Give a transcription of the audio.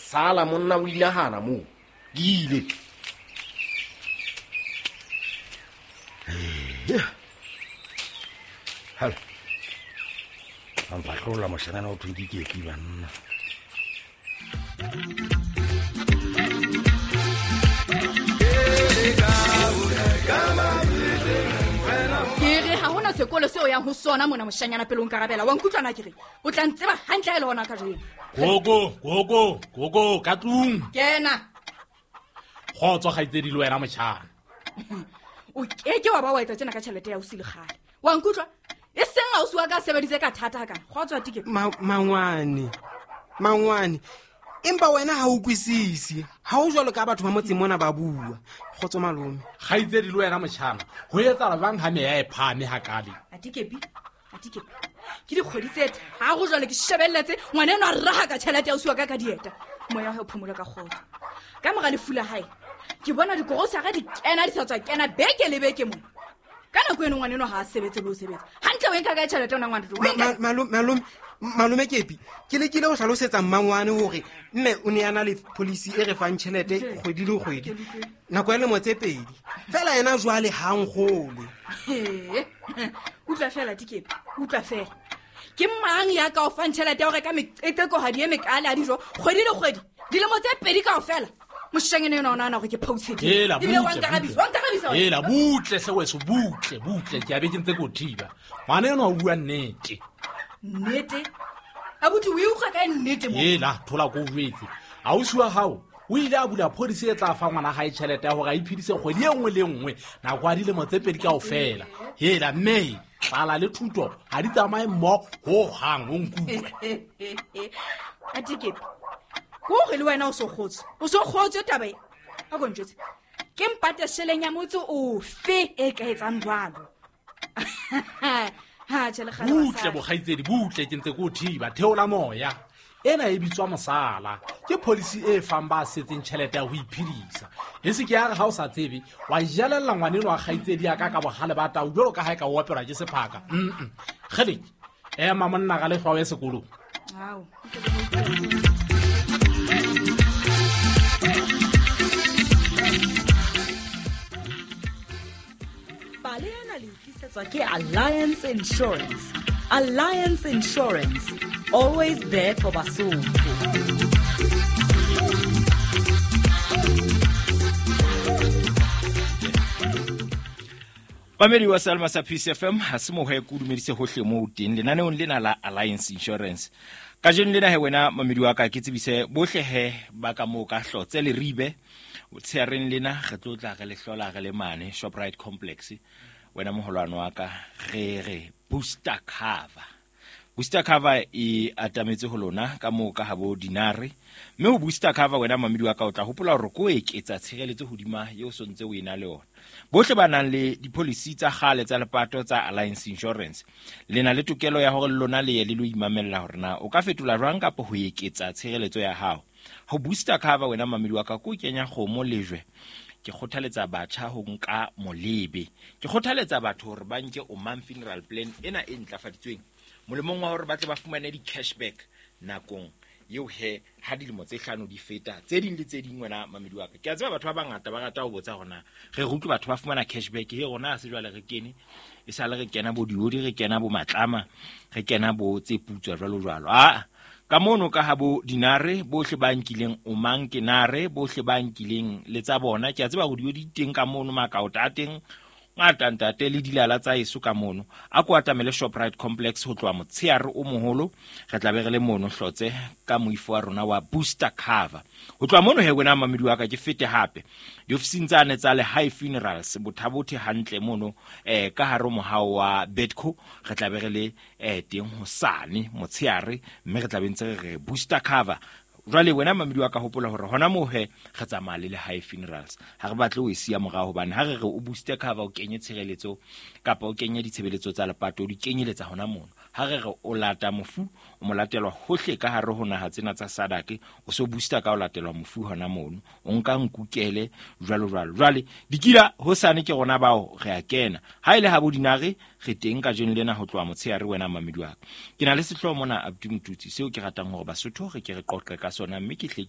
Sala monna o inagana moo. Ke ile. Halo. A mfahlolla moshanyana o thweng ke Kepi banna. Ke re ha hona sekolo seo yang ho sona mona moshanyana pele o nkarabela. Wa nkutlwana ke re o tla ntseba hantle ha e le hona kajeno. Koko, koko, koko, ka tlung. Kena. Kgotso kgaitsedi le wena motjhana. O keke wa ba wa etsa tjena ka tjhelete ya ausi le kgale. Wa nkutlwa? E seng ausi wa ka a sebeditse ka thata hakana. Kgotso a tike. Mangwane. Mangwane. Empa wena ha o utlwisise. Ha o jwalo ka batho ba motseng mona ba bua. Kgotso malome. Kgaitsedi le wena motjhana. Ho etsahala jwang ha meya e phahame hakale? Atikepi. Atikepi. Ke dikgwedi tse tharo jwale ke shebelletse ngwana enwa a raha ka tjhelete ya ausi wa ka ka dieta. Moya wa hae o phomole ka kgotso. Ka mora lefu la hae, ke bona dikorosara di kena di sa tswa kena beke le beke mona. Ka nako eno ngwana enwa ha a sebetse le ho sebetsa. Hantle o e nka kae tjhelete yona ngwana? O e nka- Malome Kepi, ke lekile ho hlalosetsa mmangwane hore mme o ne a na le policy e re fang tjhelete kgwedi le kgwedi. Nako ya lemo tse pedi. Feela yena jwale ha nkgolwe. He. Utlwa feela Dikepi, utlwa feela. Ke mang ya ka o fang tjhelete ya ho reka meqeqekohadi e mekaale ya dijo kgwedi le kgwedi? Dilemo tse pedi kaofela. Moshanyana enwa o nahana hore ke phoutshe di. Hela, Ebile wa butle, nkarabisa, butle. wa nkarabisa wena. Hela, butle hle weso, butle, butle. Ke a be ke ntse ke o thiba. Ngwana enwa o bua nnete. Nnete? Abuti, o e utlwa kae nnete mo? Hela, thola ko o jwetse. Ausi wa hao o ile a bula policy e tla fa ngwana hae tjhelete ya hore a iphedise kgwedi e nngwe le nngwe nako ya dilemo tse pedi kaofela. Hela, mme tlala le thuto ha di tsamaye mmoho hohang, o nkutlwe. Atikepi, ke hore le wena o so kgotswe. O so kgotswe taba e. A ko ntjwetse. Ke mpate sheleng ya motse ofe e ka etsang jwalo? Ha, tjhe, le kgale Butle, basadi. bokgaitsedi, butle, ke ntse ke o thiba. Theola moya. Ena e bitswa mosala. Ke policy e fang ba setseng tjhelete ya ho iphedisa. E se ke ya re ha o sa tsebe, wa jelella ngwaneno wa kgaitsedi ya ka ka bohale ba tau jwalo ka ha e ka o opelwa ke sephaka. Kgeleke, ema monna ga lehlwa o ye sekolong. Ao. Pale ena le tlisetswa ke Alliance Insurance. Alliance Insurance, always there for Basotho. Mamedi wa Salma sa Peace FM, ha se moho ya ke o dumedise hohle moo o teng lenaneong lena la Alliance Insurance. Kajeno lena he wena mamedi wa ka ke tsebise bohle he ba ka moo ka Hlotse le Ribe. Tsheareng lena re tlo tla re le hlola re le mane Shoprite Complex. Wena moholwane wa ka re re booster cover. Booster cover e atametse ho lona ka moo ka habo dinare. Mme ho booster cover wena mamedi wa ka o tla hopola hore ko eketsa tshireletso hodima eo so ntse o ena le yona. Bohle ba nang le di-policy tsa kgale tsa lepato tsa Alliance Insurance le na le tokelo ya hore lona le ye le lo imamella hore na o ka fetola jwang kapa ho eketsa tshireletso ya hao. Ho booster cover wena mamedi wa ka ko kenya kgomo lejwe. Ke kgothaletsa batjha ho nka molebe. Ke kgothaletsa batho hore ba nke Omang Funeral Plan ena e ntlafaditsweng molemong wa hore ba tle ba fumane di-cashback nakong eo he ha dilemo tse hlano di feta tse ding le tse ding wena mamedi wa ka. Ke a tseba batho ba bangata ba rata ho botsa hore na re utlwe batho ba fumana cashback he rona ha se jwale re kene e sale re kena bo diodi re kena bo matlama re kena bo tse putswa jwalo jwalo. Aa, ka mono ka ha bo dinare bohle ba nkileng Omang ke nare bohle ba nkileng le tsa bona. Ke a tseba hore diodi di teng ka mono makaota a teng ngata ntate le dilala tsa eso ka mono. A ko atamele Shoprite Complex ho tloha motsheare o moholo re tla be re le mono Hlotse ka moifo wa rona wa booster cover. Ho tloha mono he wena mamedi wa ka ke fete hape diofising tsane tsa Lehae Funerals Bothabothe hantle mono ka hare ho mohao wa Bedco re tla be re le teng hosane motsheare mme re tla be ntse re re booster cover. Jwale wena mamedi wa ka hopola hore hona moo he re tsamaya le Lehae Funerals. Ha re batle ho e siya morao hobane ha re re o booster cover o kenye tshireletso kapa o kenye ditshebeletso tsa lepato o di kenyeletsa hona mono. Ha re re o lata mofu o mo latelwa hohle ka hare ho naha tsena tsa SADC o so booster ka o latelwa mofu hona mono o nka nkukele jwalo jwalo. Jwale dikila hosane ke rona bao re a kena. Ha ile ha bo dinare re teng kajeno lena ho tloha motsheare wena mamedi wa ka. Ke na le sehlooho mona Abdi Motutsi seo ke ratang hore Basotho re ke re qoqe ka sona mme ke hle